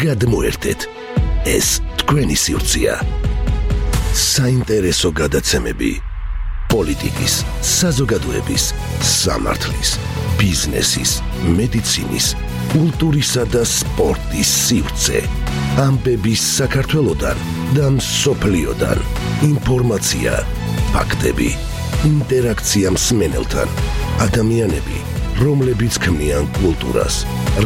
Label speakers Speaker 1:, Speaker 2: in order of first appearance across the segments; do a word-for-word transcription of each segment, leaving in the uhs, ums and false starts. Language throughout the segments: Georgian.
Speaker 1: გადმოერთეთ, ეს თქვენი სივრცეა. საინტერესო გადაცემები პოლიტიკის, საზოგადოების, სამართლის, ბიზნესის, მედიცინის, კულტურისა და სპორტის სივრცე. ამბების საქართველოდან და მსოფლიოდან. ინფორმაცია, ფაქტები, ინტერაქცია მსმენელთან. ადამიანები, რომლებიც ქმნიან კულტურას.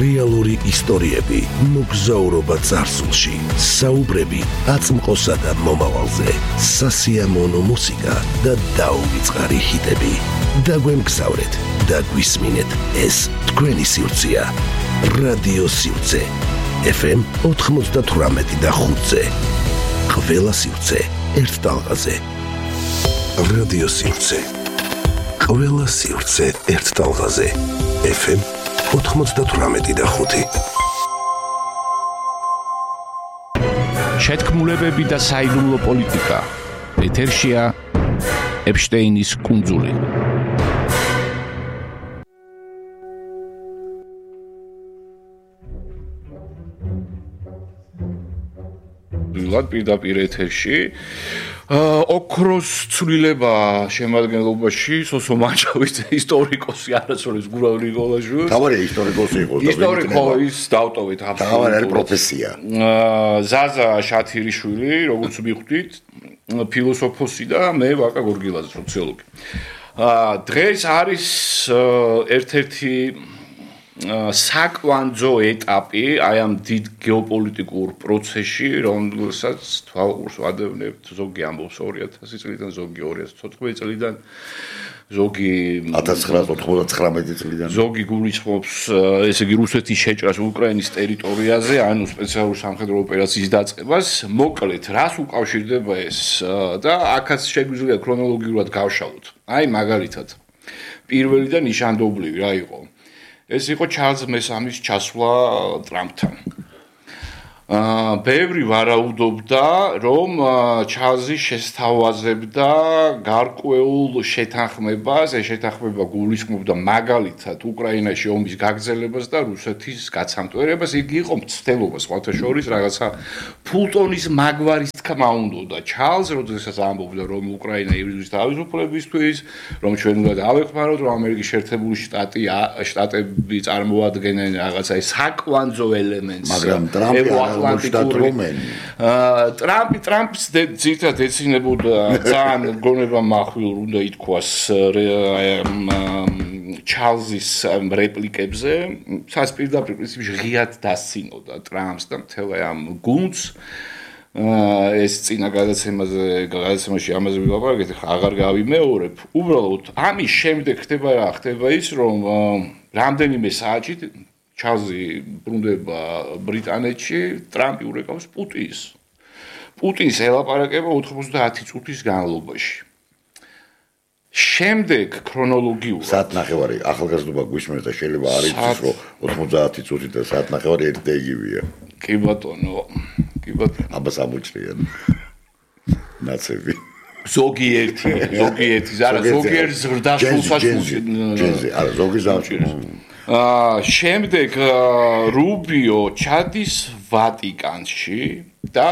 Speaker 1: რეალური ისტორიები, მოგზაურობა წარსულში. საუბრები აწმყოსა და მომავალზე. სასიამოვნო მუსიკა და დაუვიწყარი ჰიტები. დაგვემგზავრეთ და გვისმინეთ, ეს თქვენი სივრცეა. რადიო სივრცე. ეფ ემ ოთხმოცდათვრამეტი და ხუთზე. ყველა სივრცე ერთ ტალღაზე. რადიო სივრცე. ყველა სივრცე ერთ ტალღაზე. ეფ ემ ოთხმოცდათვრამეტი და ხუთი.
Speaker 2: შეთქმულებები და საიდუმლო პოლიტიკა. ეთერშია ეპშტეინის კუნძული. ვილად პირდაპირ ეთერში ოქროს ცვლილება შემადგენლობაში სოსო მანჩავის ისტორიკოსი არასოდეს გურავი ნიკოლაშვილი.
Speaker 3: თავარი ისტორიკოსი იყო და
Speaker 2: ისტორიკოს დავტოვეთ აბსოლუტურად.
Speaker 3: თავარი პროფესია.
Speaker 2: ზაზა შათირიშვილი, როგორც მიხვდით, ფილოსოფოსი და მე ვაკა გორგილაძე, სოციოლოგი. დღეს არის ერთ-ერთი საკვანძო ეტაპი აი ამ დიდ გეოპოლიტიკურ პროცესში, რომელსაც თვალყურს ვადევნებთ, ზოგი ამბობს ორი ათასი წლიდან, ზოგი ორი ათას თოთხმეტი წლიდან, ზოგი
Speaker 3: ათას ცხრაას ოთხმოცდათხრამეტი წლიდან.
Speaker 2: ზოგი გულისხმობს, ესე იგი, რუსეთის შეჭრას უკრაინის ტერიტორიაზე, ანუ სპეციალური სამხედრო ოპერაციის დაწყებას. მოკლედ, რას უკავშირდება ეს და აქაც შეგვიძლია ქრონოლოგიურად გავშალოთ. აი, მაგალითად, პირველი და ნიშანდობლივი რა იყო? ეს იყო ჩარლზ მესამის ჩასვლა ტრამპთან. აა ბევრი ვარაუდობდა, რომ ჩარლზი შესთავაზებდა გარკვეულ შეთანხმებას, ეს შეთანხმება გულისხმობდა მაგალითად უკრაინაში ომის გაგრძელებას და რუსეთის გაცამტვერებას. იგი იყო მცდელობა სხვათა შორის რაღაცა ფულტონის მაგვარის თქმა უნდა ჩარლზ, როდესაც ამბობდა, რომ უკრაინა იბრძვის თავისუფლებისთვის, რომ ჩვენ უნდა დავეხმაროთ, რომ ამერიკის შეერთებული შტატი შტატები წარმოადგენენ რაღაცა საკვანძო ელემენტს.
Speaker 3: მაგრამ ტრამპი
Speaker 2: ტრამპი ტრამპის ძირითადად ეცინებოდა ძალიან გონება מחვილ უნდა ითქვას ჩარლზის რეპლიკებზე, სას პირდაპირ პრინციპში ღიად დასცინოდა ტრამპს და მთელ ამ გუნდს. ეს წინა გადაცემაზე გადაცემაში ამაზე ვილაპარაკეთ, აღარ გავიმეორებ. უბრალოდ ამის შემდეგ ხდება რა, ხდება ის, რომ რამდენიმე საათში ჩარლზი ბრუნდება ბრიტანეთში, ტრამპი ურეკავს პუტინს. პუტინს ელაპარაკება ოთხმოცდაათი წუთის განმავლობაში. შემდეგ ქრონოლოგიურად
Speaker 3: საათნახევარი ახალგაზრდობა გვისმენს და შეიძლება არ იცის, რომ ოთხმოცდაათი წუთი და საათნახევარი ერთ და იგივეა.
Speaker 2: კი ბატონო, კი ბატონო.
Speaker 3: აბას ამოჭრიან. ნაცები.
Speaker 2: ზოგიერთი, ზოგიერთი, არა ზოგიერთ ზრდასრულსაც
Speaker 3: ჯენზე, არა ზოგი ზამჭირს.
Speaker 2: აა შემდეგ რუბიო ჩადის ვატიკანში და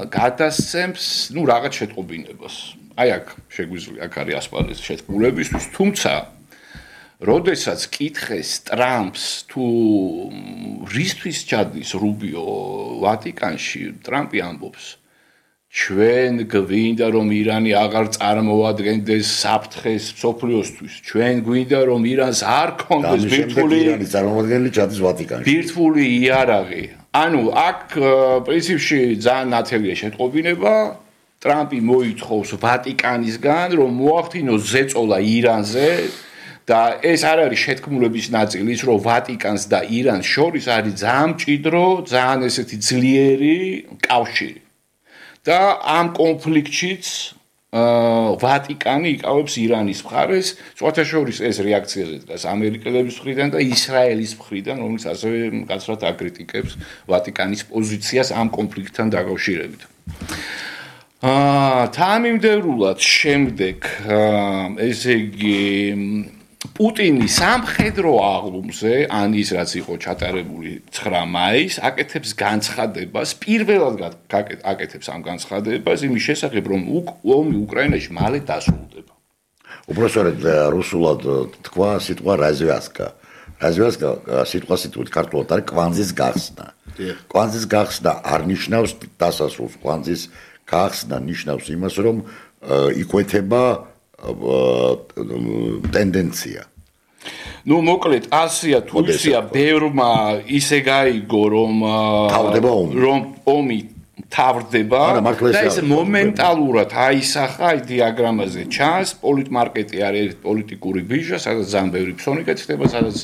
Speaker 2: გადასცემს, ну, რაღაც შეტყობინებას. აი აქ შეგვიძლია აქ არის ასპარეზი შეთქმულებისთვის, თუმცა როდესაც კითხეს ტრამპს თუ რისთვის ჩადის რუბიო ვატიკანში, ტრამპი ამბობს ჩვენ გვინდა რომ ირანი აღარ წარმოადგენდეს საფრთხეს მსოფლიოსთვის. ჩვენ გვინდა რომ ირანს არ ქონდეს ბირთვული
Speaker 3: ირანის წარმოადგენელი ჩადის ვატიკანში.
Speaker 2: ბირთვული იარაღი. ანუ აქ პრინციპში ძალიან ნათელია შეტყობინება. ტრამპი მოითხოვს ვატიკანისგან რომ მოახდინოს ზეწოლა ირანზე და ეს არ არის შეთქმულების ნაწილი, ის რომ ვატიკანს და ირანს შორის არის ძალიან მჭიდრო, ძალიან ესეთი ძლიერი კავშირი. და ამ კონფლიქტშიც ვატიკანი იკავებს ირანის მხარეს, სხვათა შორის ეს რეაქციაზე დგას ამერიკელების მხრიდან და ისრაელის მხრიდან, რომელიც ასევე მკაცრად აკრიტიკებს ვატიკანის პოზიციას ამ კონფლიქტთან დაკავშირებით. აა თანამიმდევრულად შემდეგ ესე იგი პუტინი სამხედრო აღლუმზე, ან ის რაც იყო ჩატარებული ცხრა მაისს, აკეთებს განცხადებას, პირველად აკეთებს ამ განცხადებას იმის შესახებ, რომ ომი უკრაინაში მალე დასრულდება.
Speaker 3: უბრალოდ რუსულად თქვა სიტყვა развязка. развязка სიტყვა სიტყვით ქართულად არის კვანძის გახსნა. კვანძის გახსნა არ ნიშნავს დასასრულს, კვანძის გახსნა ნიშნავს იმას, რომ იკვეთება ტენდენცია.
Speaker 2: ნუ მოკლედ ასია თუ ისია ბევრმა ისე გაიგო რომ
Speaker 3: თავდება ომი
Speaker 2: რომ ომი თავდება და ეს მომენტალურად აისახა დიაგრამაზე ჩანს პოლიტმარკეტი არის პოლიტიკური ბიჟა სადაც ძალიან ბევრი ფსონი კეთდება სადაც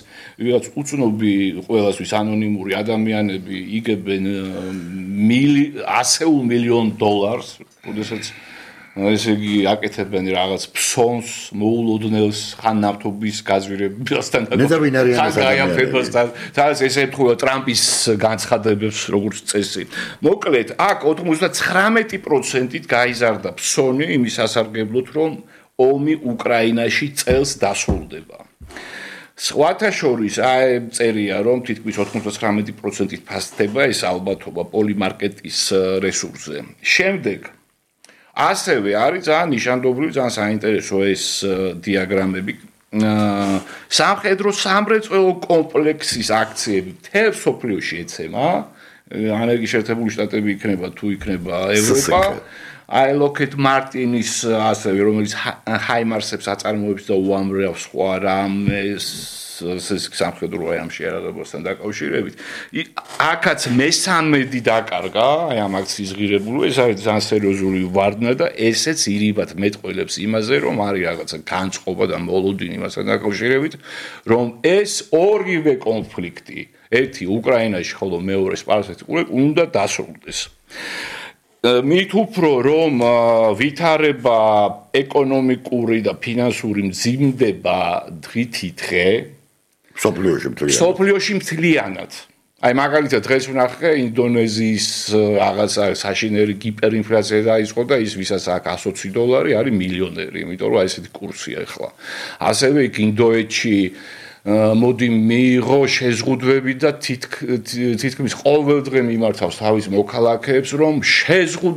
Speaker 2: ვიღაც უცნობი ყველასთვის ანონიმური ადამიანები იგებენ ასეულ მილიონ დოლარს როდესაც ესე იგი აკეთებენ რაღაც ფსონს, მოულოდნელს, ხან ნავთობის გაზვირებასთან
Speaker 3: და
Speaker 2: სადაც ესე ეთქვა ტრამპის განცხადებებს როგორც წესი. მოკლედ, აქ ოცდაცხრამეტი პროცენტით გაიზარდა ფსონი იმის სასარგებლოდ, რომ ომი უკრაინაში წელს დასრულდება. სხვათა შორის აი წერია, რომ თითქმის ოცდაცხრამეტი პროცენტით ფასდება ეს ალბათობა პოლიმარკეტის რესურსზე. შემდეგ ასევე არის ძალიან ნიშანდობლივი, ძალიან საინტერესო ეს დიაგრამები. სამხედრო სამრეწველო კომპლექსის აქციები მთელ მსოფლიოში ეცემა. ამერიკის შეერთებული შტატები იქნება თუ იქნება ევროპა. აი ლოკჰედ მარტინის ასევე რომელიც ჰაიმარსებს აწარმოებს და უამრავ სხვა რამეს ეს სამხედრო აიმში არაღებასთან დაკავშირებით. აქაც მესამედი დაკარგა, აი ამ აქციის ღირებულო, ეს არის ძალიან სერიოზული ვარდნა და ესეც ირიბად მეტყველებს იმაზე, რომ არის რაღაცა განწყობა და მოლოდინი მასთან დაკავშირებით, რომ ეს ორივე კონფლიქტი, ერთი უკრაინაში, ხოლო მეორე სპარსეთში უნდა დასრულდეს. მით უფრო რომ ვითარება ეკონომიკური და ფინანსური მძიმდება დღითი დღე
Speaker 3: სოფლიოში მთლიანად.
Speaker 2: სოფლიოში მთლიანად. აი მაგალითად დღეს ვნახე ინდონეზიის რაღაცა საშინელი ჰიპერინფლაცია დაიწყო და ის ვისაც აქვს εκατი ოცი დოლარი არის მილიონერი, იმიტომ რომ აი ესეთი კურსია ახლა. ასევე იქ ინდოეთში მოდი მიიღო შეზღუდვები და თითქმის ყოველდღე მიმართავს თავის მოქალაქეებს რომ შეზღუდვები